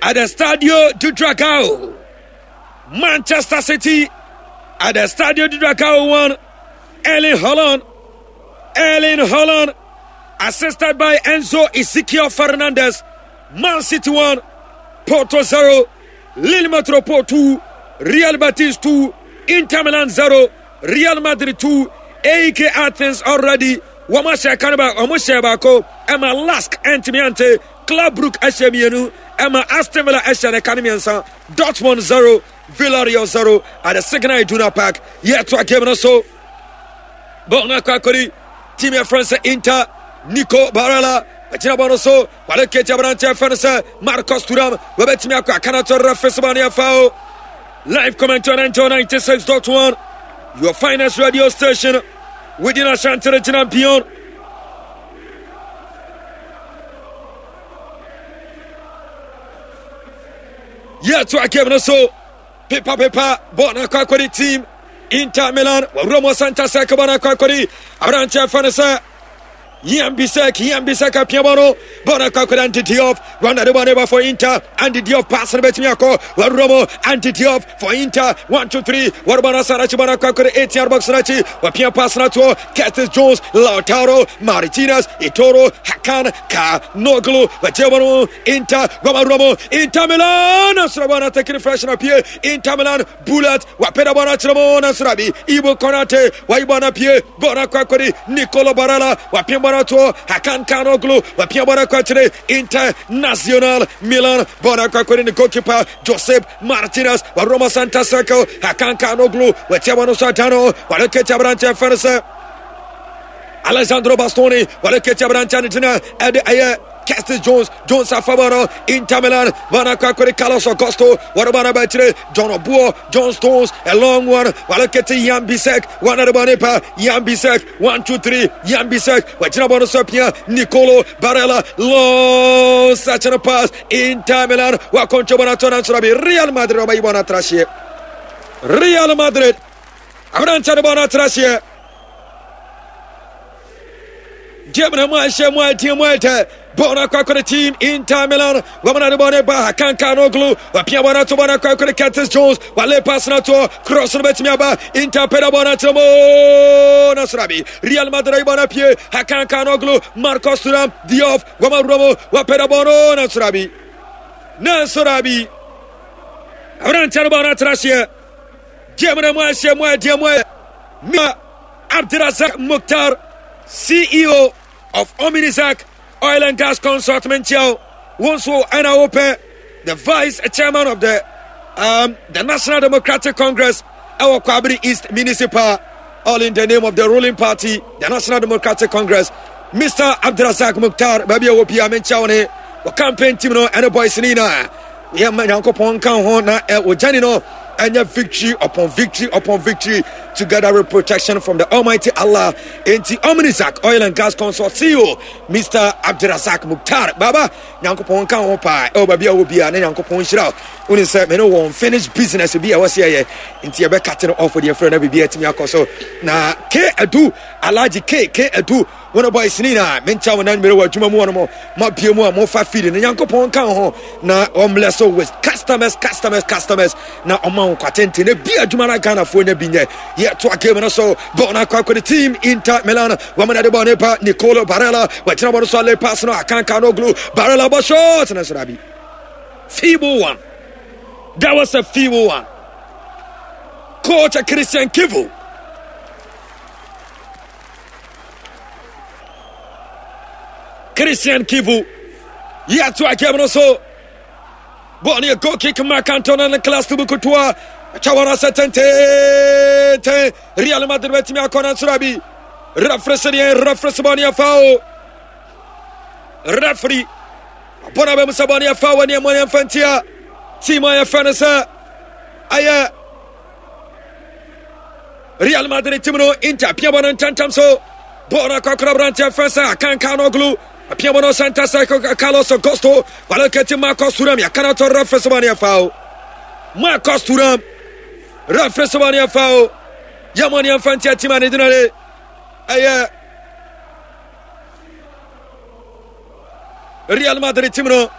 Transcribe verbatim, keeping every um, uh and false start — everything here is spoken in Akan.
At the Stadio do Dragao. Manchester City at the Stadio do Dragao one. Erling Haaland. Erling Haaland assisted by Enzo Ezekiel Fernandez. Man City one, Porto zero, Lille Metropole two, Real Betis two, Inter Milan zero, Real Madrid two, A E K Athens already wɔn ahyɛ kan ba wɔn hyɛ baako ɛma Lask ɛntumi ante. Club Brugge ɛhyɛ mmienu ɛma Aston Villa ɛhyɛ ne ka ne mmiɛnsa. Dortmund zero, Villarreal zero at the Signal Iduna Park. Yɛtoa game no so. Bɔɔl no akɔ akɔdi team yɛfrɛ no sɛ Inter. Nico Barella agyina bɔ no so, wale keti aberanteɛ fɛ no sɛ Marcus Thuram, wɔbɛtumi akɔ akanato referee sɛ bɔne afa o. Live comment on ninety-six point one, your finest radio station within Ashanti Region and beyond. Yɛtoa game no so. Pepa pepa bɔɔl no akɔ akɔdi team Inter Milan. Wɔwura mu center circle, bɔɔl no akɔ akɔdi aberanteɛ fɛ no sɛ Yann Bisek. Yann Bisek apia bɔ no, bɔɔl no akɔ akɔdi Andy Diouf. Rwanda de bɔɔl no ba for Inter. Andy Diouf pass no bɛtumi akɔ. Wɔwura mu Andy Diouf for Inter. One, two, three. Wɔrebɔ no asara akyi, bɔɔl no akɔ akɔdi eighteen box no akyi. Wɔpia pass no atoɔ Curtis Jones, Lautaro Martinez, Itoro, Hakan Calhanoglu. Wɔgye bɔ no Inter. Wɔwura mu Inter Milan asoro bɔɔl no taking fresh na pie Inter Milan bullet. Wapɛda bɔɔl no akyerɛ mu na soro bi Ibo Konate wayi bɔɔl no pie. Bɔɔl no akɔ akɔdi Nicolo Barella. Wapia bɔɔl no atoɔ Hakan Calhanoglu. Wapia bɔɔl no akɔ akyerɛ International Milan. Bɔɔl no akɔ akɔdi ne goalkeeper Josep Martinez. Waroma center circle, Hakan Calhanoglu watia bɔɔl no so adano. Waleketi aberanteɛ fɛ no sɛ Alessandro Bastoni. Waleketi aberanteɛ no gyina ɛde ɛyɛ Curtis Jones. Jones afabɔ no Inter Milan. Bana kwakore Carlos Augusto. Wɔde no bɛkyerɛ John Obuo. John Stones, a long one. Walekete Yann Bisek. One of the pa Yann Bisek. One, two, three. Yann Bisek wagyina bɔ no so apia Nicolo Barella. Long searching pass. Inter Milan wakɔntwa bɔ no ato no ansoro bi. Real Madrid ɔbɛyi bɔ no atrahyeɛ. Real Madrid aberanteɛ no bɔ no atrahyeɛ. Game no mu ahyɛ mu adeɛ mu ɛtɛ. Bɔɔl no akɔ akɔde team Inter Milan. Wɔn de bɔɔl no ba Hakan Calhanoglu. Wapia bɔɔl no ato, bɔɔl no akɔ akɔde Curtis Jones. Wale pass no ato, cross no bɛtumi aba. Inter pɛdɛ bɔɔl no akyerɛ mu na soro bi Real Madrid ayi bɔɔl no apue. Hakan Calhanoglu, Marcus Thuram, Diouf. Wɔn awura mu, wapɛdɛ bɔɔl no na soro bi na soro bi aberanteɛ no bɔɔl no atena aseɛ. Game no mu ahyɛ mu adeɛ mu ɛ. Abdirazak Mukhtar, C E O of Ominizak Oil and Gas Consult, Menchiao, wonso ɛna wopɛ the vice chairman of the um, the National Democratic Congress ɛwɔ Kwabere East Municipal, all in the name of the ruling party, the National Democratic Congress. Mister Abdirazak Mukhtar, baabi a wɔ bia menkyia wo ne wɔ campaign team no ɛne boys ne nyinaa. Yɛma Nyankopɔn nka ho na ɔgyane no ɛnyɛ victory upon victory upon victory, together with protection from the Almighty Allah. Enti Omnizak Oil and Gas Consult C E O Mister Abdirazak Mukhtar Baba, Nyankopɔn nka ho paa ɛwɔ baabi a wɔ bia na Nyankopɔn nhyira wo. Wone sɛ mene wɔn finish business bi a ɛwɔ sɛ yɛyɛ nti yɛbɛkate no off deɛ frɛ na biribi atumi akɔ so. Na K Adu, Alhaji K K Adu, wɔn boys ne nyinaa menkyɛ wo nan mmerɛ wɔ adwuma mu wɔn mo mabie mu a mofa feed no. Nyankopɔn nka ho na ɔmlɛ so with customers, customers, customers, na ɔma wo kwatenten na bi adwuma no Ghanafoɔ nya bi nyɛ. Yɛtoa game no so. Bɔɔl no akɔ akɔde team Inter Milan. Wɔn na de bɔɔl no ba Nicolo Barella. Wɔgyina bɔɔl no so ale pass no Hakan Calhanoglu. Barella bɔ shot na soro abi. Feeble one, that was a feeble one. Coach Christian Kivu, Christian Kivu. Yɛtoa game no so. Bɔɔl no yɛ goal kick. Marc Antonio ne class to bukutoa atwa wɔn asɛ tententen. Real Madrid bɛtumi akɔ no nsoro bi. Referee sɛ deɛ referee sɛ bɔɔl no yɛ foul. Referee abɔ no abɛmu sɛ bɔɔl no yɛ foul wɔ nneɛma no yɛmfa ntia team a yɛfrɛ no sɛ ayɛ Real Madrid team no. Inter pia bɔ no ntɛntɛm so. Bɔɔl no akɔkora aberanteɛ fɛ sɛ Hakan Calhanoglu. Apia bɔ no center circle, Carlos Augusto. Waleketi Marcus Thuram. Yakana to referee sɛ bɔɔl no yɛ foul. Marcus Thuram, referee sɛ bɔɔl no yɛ foul. Yɛmɔ ne yɛmfa ntia team a ne gyina de ɛyɛ Real Madrid team no.